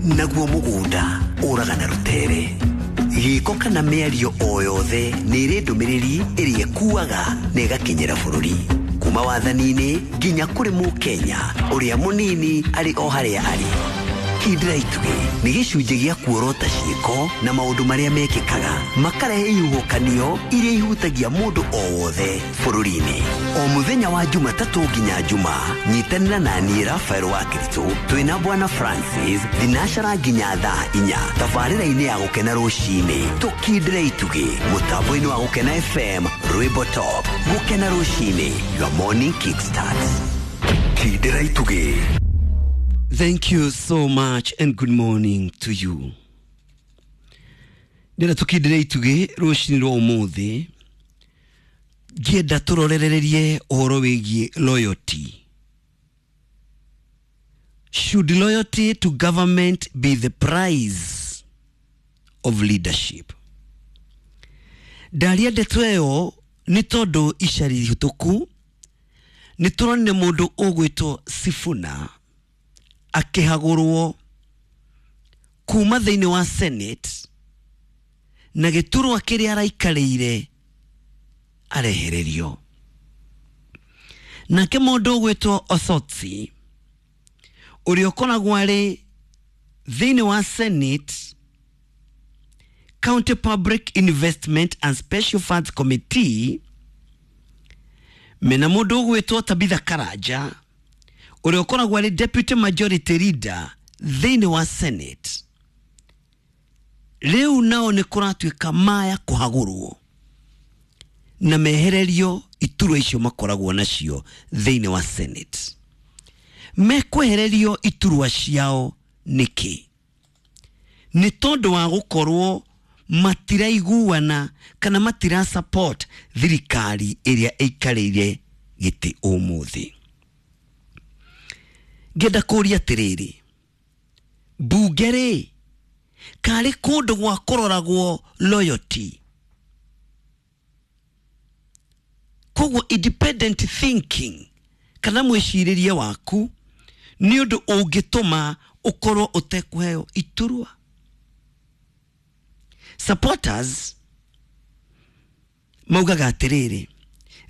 Naguo mũgũnda ũraga na rũtere. Gĩko kana mĩario o yothe nĩ ĩrĩ ndũmĩrĩri ĩrĩa ĩkuaga na ĩgakinyĩra bũrũri. Kuma wathani-inĩ nginya kũrĩ mũkenya ũrĩa mũnini arĩ o harĩa arĩ. Kindĩra itugĩ nĩ gĩcunjĩ gĩa kuorota ciĩko na maũndũ marĩa mekĩkaga makarehe ihuhũkanio iria ihutagia mũndũ o wothe bũrũri-inĩ. O mũthenya wa Jumatatũ nginya Juma, nyitanĩra na niĩ Rafael wa Kiritũ twĩna Bwana Francis thinacara nginya thaa 4 tabarĩra-inĩ ya Gũkena rũcinĩ. Tũkindĩre itugĩ mũtambo-inĩ wa Gũkena FM, Rwĩmbo Top. Gũkena rũcinĩ, your morning kickstart. Kindĩra itugĩ. Thank you so much and good morning to you. Ndĩra tũkindĩre itugĩ rũcinĩ rwa ũmũthĩ, ngĩenda tũrorererie ũhoro wĩgiĩ loyalty. Should loyalty to government be the price of leadership? Ndaria ndeto ĩyo nĩ tondũ ica ihĩtũku nĩ tũronire mũndũ ũgwĩtwo Sifuna akĩhagũrwo kuma thĩinĩ wa Senate na gĩturwa kĩrĩa araikarĩire arehererio. Nake mũndũ ũgwĩtwo Osotsi ũrĩa ũkoragwo arĩ thĩinĩ wa Senate County Public Investment and Special Funds Committee mena mũndũ ũgwĩtwo Tabitha Karanja ũrĩa ũkoragwo arĩ Deputy Majority Leader thĩinĩ wa Senate. Rĩu nao nĩ kũratuĩka maya kũhagũrwo na mehererio iturwa icio makoragwo nacio thĩinĩ wa Senate. Mekwehererio iturwa ciao nĩkĩ? Nĩ tondũ wa gũkorwo matiraiguana kana matira support thirikari ĩrĩa ĩikarĩire gĩtĩ ũmũthĩ. Ngĩenda kũria atĩrĩrĩ, mbunge rĩ karĩ kũndũ gwa kũroragwo loyalty? Koguo independent thinking kana mwĩcirĩrie waku nĩ ũndũ ũngĩtũma ũkorwo ũtekũheo iturwa. Supporters maugaga atĩrĩrĩ,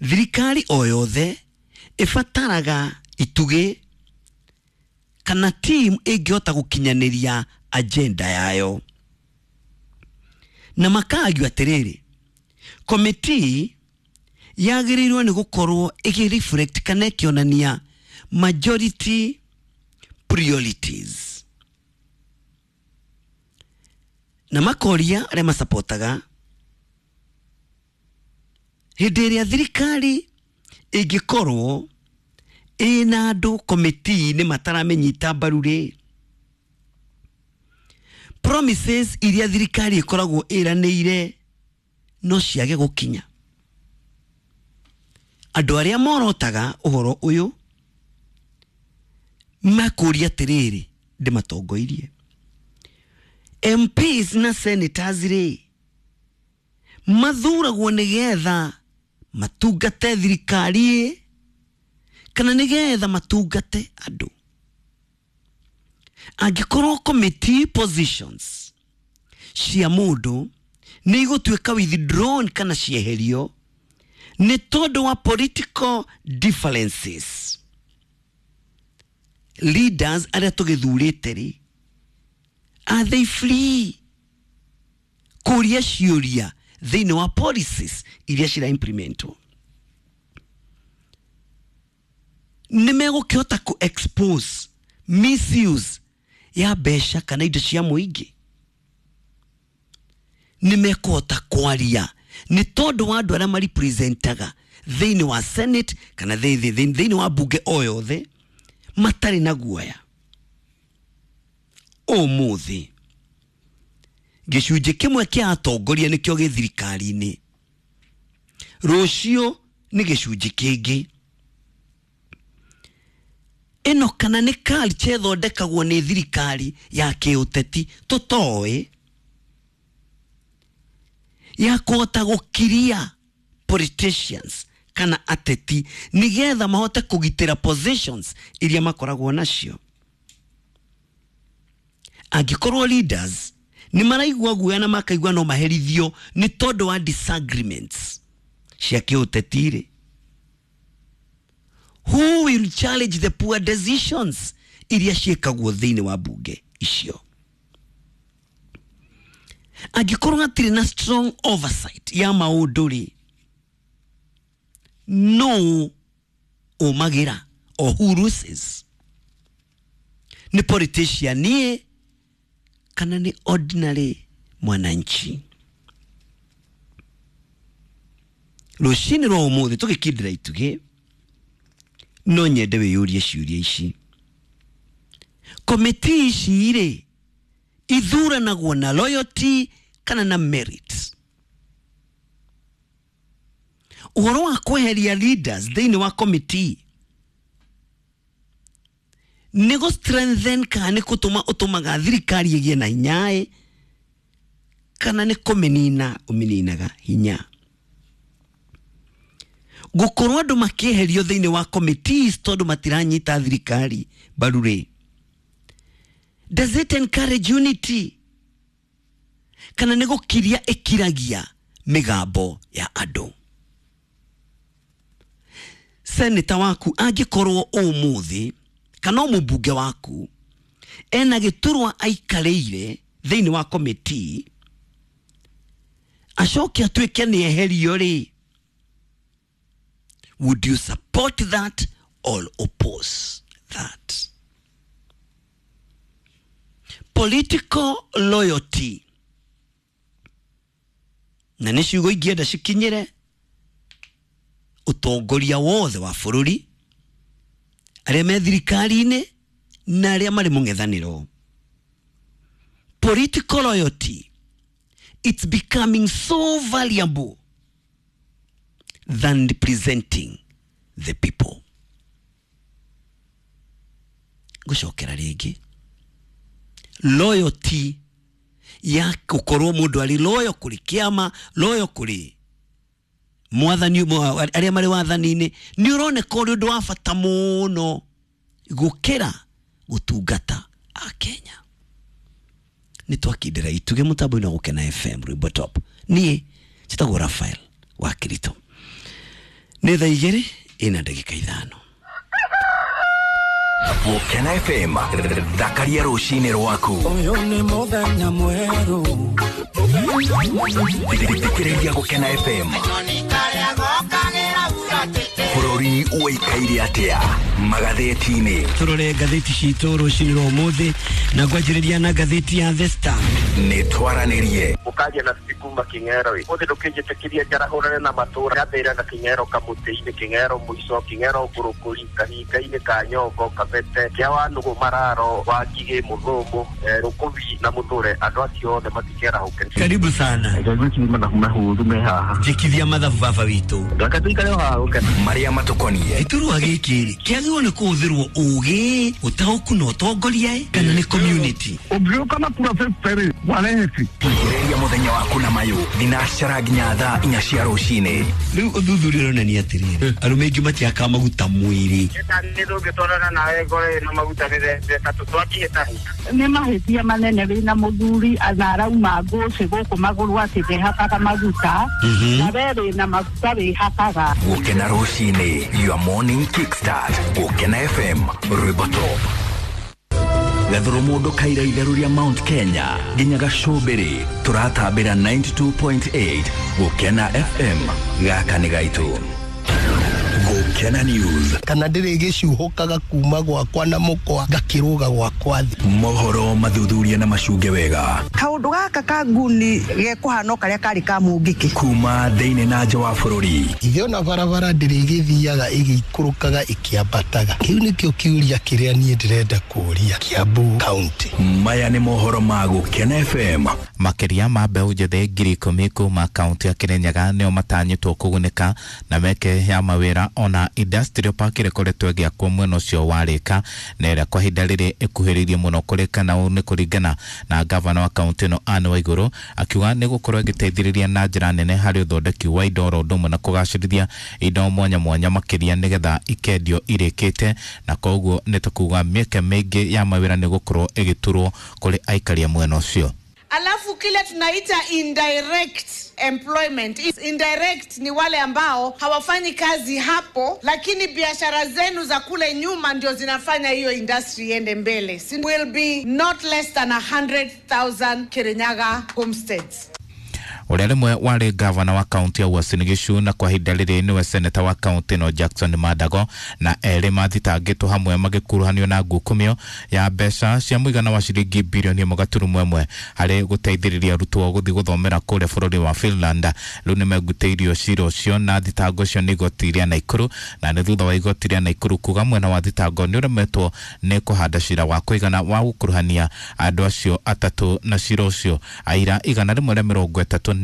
thirikari o yothe ĩbataraga itugĩ kana team ĩngĩhota gũkinyanĩria agenda yayo. Na makagio atĩrĩrĩ, committee yagĩrĩirwo nĩ gũkorwo ĩkĩ-reflect kana ĩkĩonania majority priorities. Na makoria arĩa masapotaga hĩndĩ ĩrĩa thirikari ĩngĩkorwo ĩna andũ committee-inĩ mataramĩnyita mbaru rĩ, promises iria thirikari ĩkoragwo ĩranĩire no ciage gũkinya. Andũ arĩa morotaga ũhoro ũyũ makũria atĩrĩrĩ, ndĩmatongoirie MPs na senators rĩ mathuragwo nĩgetha matungate thirikari kana nĩgetha matungate andũ. Angĩkorwo committee positions cia mũndũ nĩ igũtuĩka withdrawn kana cieherio nĩ tondũ wa political differences, leaders arĩa tũgĩthurĩte rĩ, are they free kũria ciũria thĩinĩ wa policies iria cira implementwo? Nĩ megũkĩhota kũ expose misuse ya mbeca kana indo cia mũingĩ? Nĩ mekũhota kwaria nĩ tondũ wa andũ arĩa marepresentaga thĩinĩ wa Senate kana thĩinĩ wa mbunge o yothe matarĩ na guoya? Ũmũthĩ gĩcunjĩ kĩmwe kĩa atongoria nĩkĩo gĩ thirikari-inĩ, rũciũ nĩ gĩcunjĩ kĩngĩ. Ĩno kana nĩ culture ĩthondekagwo nĩ thirikari ya kĩũteti tũtoĩ, ya kũhota gũkiria politicians kana ateti nĩgetha mahote kũgitĩra positions iria makoragwo nacio. Angĩkorwo leaders nĩ maraigua guoya na makaigua no maherithio nĩ tondũ wa disagreements cia kĩũteti rĩ, who will challenge the poor decisions iria ciĩkagwo thĩinĩ wa mbunge icio? Angĩkorwo hatirĩ na strong oversight ya maũndũ rĩ, no ũmagĩra or who loses? Nĩ politician ĩ kana nĩ ordinary mwananchi? Rũcinĩ rwa ũmũthĩ tũgĩkindĩra itugĩ, no nyende wĩyũrie ciũria ici. Komiti ici rĩ, ithuranagwo na loyalty kana na merit? Ũhoro wa kweheria leaders thĩinĩ wa committee nĩ gũ strengthen kana nĩ gũtũma ũtũmaga thirikari ĩgĩe na hinya ĩ, kana nĩ kũmĩnina ũmĩninaga hinya? Gũkorwo andũ makĩeherio thĩinĩ wa committees tondũ matiranyita thirikari mbaru rĩ, does it encourage unity kana nĩ gũkiria ĩkiragia mĩgambo ya andũ? Seneta waku angĩkorwo ũmũthĩ kana o mũmbunge waku ena gĩturwa aikarĩire thĩinĩ wa committee acoke atuĩke nĩ eherio rĩ, would you support that or oppose that? Political loyalty na nĩ ciugo ingĩenda cikinyĩre ũtongoria wothe wa bũrũri, arĩa me thirikari-inĩ na arĩa marĩ mũng'ethanĩro. Political loyalty, it's becoming so valuable than representing the people. Ngũcokera rĩngĩ, loyalty ya gũkorwo mũndũ arĩ loyal kũrĩ kĩama, loyal kũrĩ mwathani, arĩa marĩ wathani-inĩ, nĩ ũroneka ũrĩ ũndũ wa bata mũno gũkĩra gũtungata Akenya. Nĩ twakindĩra itugĩ mũtambo-inĩ wa Gũkena FM Rwĩmbo Top. Niĩ njĩtagwo Raphael wa Kirito. Nĩ thaa 2:05. Gũkena FM, thakaria rũcinĩ rwaku. Ũyũ nĩ mũthenya mwerũ. Thikĩrĩria Gũkena FM. Bũrũri ũikaire atĩa magathĩti-inĩ? Tũrore ngathĩti citũ rũcinĩ rwa ũmũthĩ na ngwanjĩrĩria na ngathĩti ya The Star. Nĩ twaranĩrie ũkaria na kuma King'ero ũthĩ ndũkĩnjĩtĩkĩria njarahũrane na matũra gathĩra na King'ero kamũtĩ-inĩ, King'ero mũico, King'ero ngũrũkũri, kahinga-inĩ ka Nyongo, Kabete, kĩa Wanũgũ, Mararo, Wangigĩ, Mũthũngũ, Rũkũbi na Mũthũre. Andũ acio othe matikerahũke. Karibu sana. Njĩkithia mathabu baba witũ. Marĩa matũkoniĩ. Gĩturwa gĩkĩ rĩ, kĩagĩrĩirwo nĩ kũhũthĩrwo ũgĩ, ũtaũku na ũtongoria kana nĩ community? Ũngĩũka na kura 50 warehe. Thikĩrĩria mũthenya waku na mayũ thinacara nginya thaa 4 cia rũcinĩ. Rĩu ũthuthuria ũronania atĩrĩrĩ, arũme aingĩ matiakaga maguta mwĩrĩ. Nĩ mahĩtia manene wĩna mũthuri na arauma ngũcĩ gũkũ magũrũ atĩ ndehakaga maguta, na we wĩna maguta wĩhakaga. Gũkena rũcinĩ, your morning kickstart. Gũkena FM, Rwĩmbo Top. Gathuru mundu kaira itheru ria Mount Kenya nginya Gacũmbĩrĩ turatambĩra 92.8 Gũkena FM. Gaka nĩ gaitũ. Gũkena News. Kana ndĩrĩ gĩcuhũkaga kuma gwakwa na mũkwa ngakĩrũga gwakwa thĩ. Mohoro mathuthuria na macunge wega. Kaũndũ gaka ka nguni gekũhana o karĩa karĩ ka mũngĩkĩ. Kuma thĩinĩ na nja wa bũrũri. Ithe ona barabara ndĩrĩ gĩthiaga ĩgĩikũrũkaga ĩkĩambataga. Kĩu nĩkĩo kĩũria kĩrĩa niĩ ndĩrenda kũũria Kiambu County. Maya nĩ mohoro ma Gũkena FM. Makĩria ma mbeũ njĩthĩ 10,000 kuma kaunti ya Kirinyaga nĩo matanyĩtwo kũgunĩka na meke ya mawĩra ona na industrial park ĩrĩa ĩkoretwo ĩgĩakwo mwena ũcio wa Rĩka na ĩrĩa kwa ihinda rĩrĩ ĩkuhĩrĩirie mũno kũrĩka, na ũũ nĩ kũringana na gavana wa kaunti ĩno Anne Waigũrũ akiuga nĩ gũkorwo ĩgĩteithĩrĩria na njĩra nene harĩ ũthondeki wa indo oro ũndũ ũmwe na kũgacĩrithia indo mwanya mwanya makĩria nĩgetha ikendio irĩkĩte, na koguo nĩ ta kuga mĩeke mĩingĩ ya mawĩra nĩ gũkorwo ĩgĩturwo kũrĩ aikari a mwena ũcio. Alafu kile tunaita indirect employment. Indirect ni wale ambao hawafanyi kazi hapo, lakini biashara zenu za kule nyuma ndio zinafanya hiyo industry iende mbele. Will be not less than 100,000 Kirinyaga homesteads. Ũrĩa rĩmwe warĩ gavana wa kaunti ya Uasin Gishu na kwa ihinda rĩrĩ nĩwe seneta wa kaunti ĩno Jackson Mandago na erĩ mathitangĩtwo hamwe magĩkuruhanio na ngukumio ya mbeca cia mũigana wa ciringi birioni 1.1 harĩ gũteithĩrĩria arutwo gũthiĩ gũthomera kũrĩa bũrũri wa Finland. Rĩu nĩmengutĩirio cira ũcio na thitango icio nĩ igoti rĩa Naikuru, na nĩ thutha wa igoti rĩa Naikuru kuga mwena wa thitango nĩ ũremetwo nĩ kũhanda cira wa kũigana wa gũkuruhania andũ acio atatũ na cira ũcio. Aira 138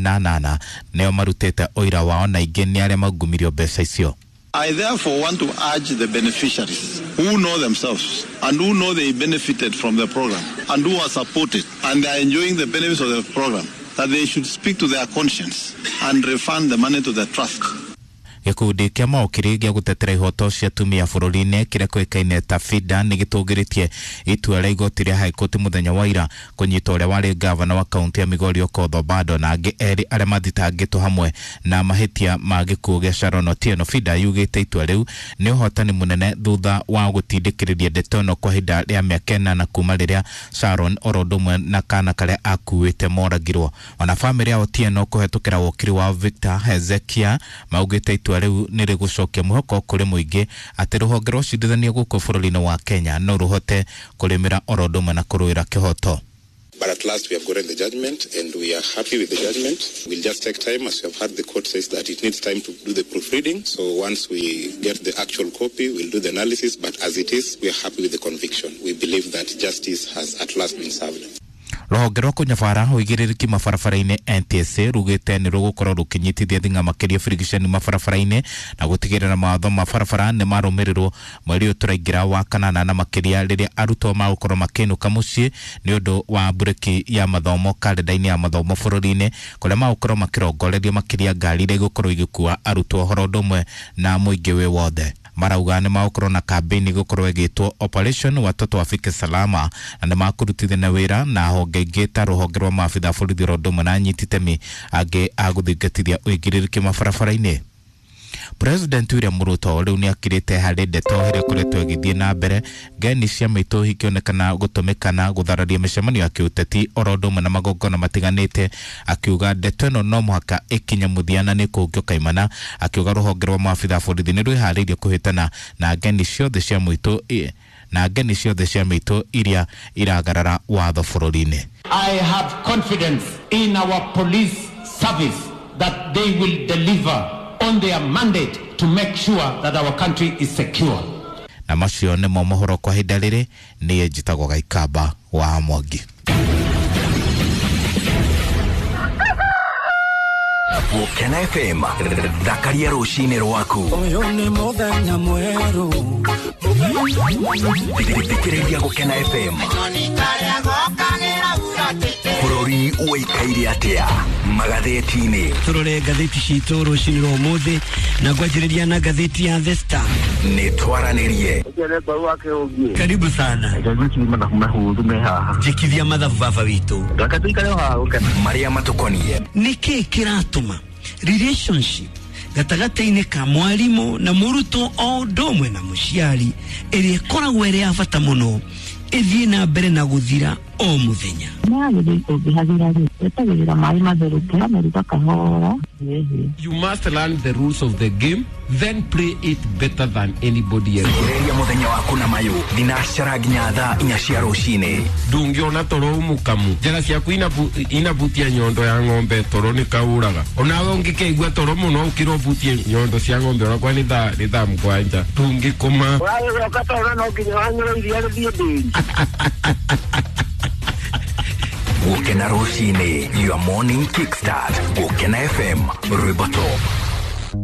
nĩo marutĩte ũira wao na ingĩ nĩ arĩa magumirio mbeca icio. I therefore want to urge the beneficiaries who know themselves and who know they benefited from the program and who are supported and they are enjoying the benefits of the program, that they should speak to their conscience and refund the money to the trust. Gĩkundi kĩa maũkiri gĩa gũtetera ihoto cia atumia bũrũri-inĩ kĩrĩa kĩũĩkaine ta FIDA nĩ gĩtũgĩrĩtie itua rĩa igoti rĩa High Court mũthenya wa ira kũnyita ũrĩa warĩ gavana wa kaunti ya Migori Okoth Obado na angĩ erĩ arĩa mathitangĩtwo hamwe na mahĩtia ma gĩkuũ gĩa Sharon Otieno. FIDA yugĩte itua rĩu nĩ ũhotani mũnene thutha wa gũtindĩkĩrĩria ndeto ĩno kwa ihinda rĩa mĩaka 8 kuma rĩrĩa Sharon oro ũndũ ũmwe na kana karĩa akuĩte moragirwo. Ona bamĩrĩ ya Otieno kũhetũkĩra wokiri wao Victor Hezekia maugĩte itua rĩu nĩ rĩgũcokia mwĩhoko kũrĩ mũingĩ atĩ rũhonge rwa ũcirithania gũkũ bũrũri-inĩ wa Kenya no rũhote kũrĩmĩra oro ũndũ ũmwe na kũrũĩra kĩhoto. But at last we have gotten the judgment and we are happy with the judgment. We'll just take time, as we have heard the court says that it needs time to do the proofreading. So once we get the actual copy, we'll do the analysis. But as it is, we are happy with the conviction. We believe that justice has at last been served. Rũhonge rwa kũnyabara ũigĩrĩrĩki mabarabara-inĩ NTSA rugĩte nĩ rũgũkorwo rũkĩnyitithia thing'a makĩria birigiceni mabarabara-inĩ na gũtigĩrĩra mawatho ma barabara nĩ marũmĩrĩrwo mweri ũyũ tũraingĩra wa kanana, na makĩria rĩrĩa arutwo magũkorwo makĩinũka mũciĩ nĩ ũndũ wa mburĩki ya mathomo karenda-inĩ ya mathomo bũrũri-inĩ, kũrĩa magũkorwo makĩrongorerio makĩria ngari iria igũkorwo igĩkua arutwo horo ũndũ ũmwe na mũingĩ wĩ wothe. Marauga nĩ magũkorwo na kambĩini gũkorwo ĩgĩtwo Operation Watoto Wafike Salama, na nĩ makũrutithania wĩra na honge ingĩ ta rũhonge rwa maabitha a borithi oro ũndũ ũmwe na anyiti itemi angĩ a gũthingatithia ũigĩrĩrĩki mabarabara-inĩ. President William Ruto rĩu nĩ akirĩte harĩ ndeto ĩrĩa ĩkoretwo ĩgĩthiĩ na mbere ngeni cia mĩitũ ikĩonekana gũtũmĩka na gũthararia mĩcemanio ya kĩũteti oro ũndũ ũmwe na magongona matiganĩte, akiuga ndeto ĩno no mũhaka ĩkinye mũthia na nĩ kũngio kaimana, akiuga rũhonge rwa maabitha a borithi nĩ rwĩharĩirie kũhĩtana na ngeni ciothe cia mũitũ na ngeni ciothe cia mĩitũ iria iragarara watho bũrũri-inĩ. I have confidence in our police service that they will deliver on their mandate to make sure that our country is secure. Na macio nĩmo mohoro kwa ihinda rĩrĩ. Niĩ njĩtagwo Gaikamba wa Mwangi. Gũkena FM, thakaria rũcinĩ rwaku. Ũyũ nĩ mũthenya mwerũ. Thikĩrĩria Gũkena FM. Bũrũri ũikaire atĩa magathĩti-inĩ? Tũrore ngathĩti citũ rũcinĩ rwa ũmũthĩ na ngwanjĩrĩria na ngathĩti ya The Star. Nĩ twaranĩrie. Karibu sana. Njĩkithia mathabu baba witũ. Marĩa matũkoniĩ. Nĩkĩĩ kĩratũma relationship gatagatĩ-inĩ ka mwarimũ na mũrutwo o ũndũ ũmwe na mũciari ĩrĩa ĩkoragwo ĩrĩ ya bata mũno ĩthiĩ na mbere na gũthira o mũthenya? You must learn the rules of the game, then play it better than anybody else. Thikĩrĩria mũthenya waku na mayũ thinacara nginya thaa 4 cia rũcinĩ. Ndũngĩona toro mũkamu njĩra ciaku inabutia nyondo ya ng'ombe toro nĩ kaũraga. Onawe ũngĩkeigua toro mũno ũkĩra ũbutie nyondo cia ng'ombe onakwa nĩ thaa 7 ndũngĩkoma. Ũragĩcoka toro no nginya wanyue iria rĩthiĩ ndĩri. Gũkena rũcinĩ, your morning kickstart. Gũkena FM, rwĩmbo top.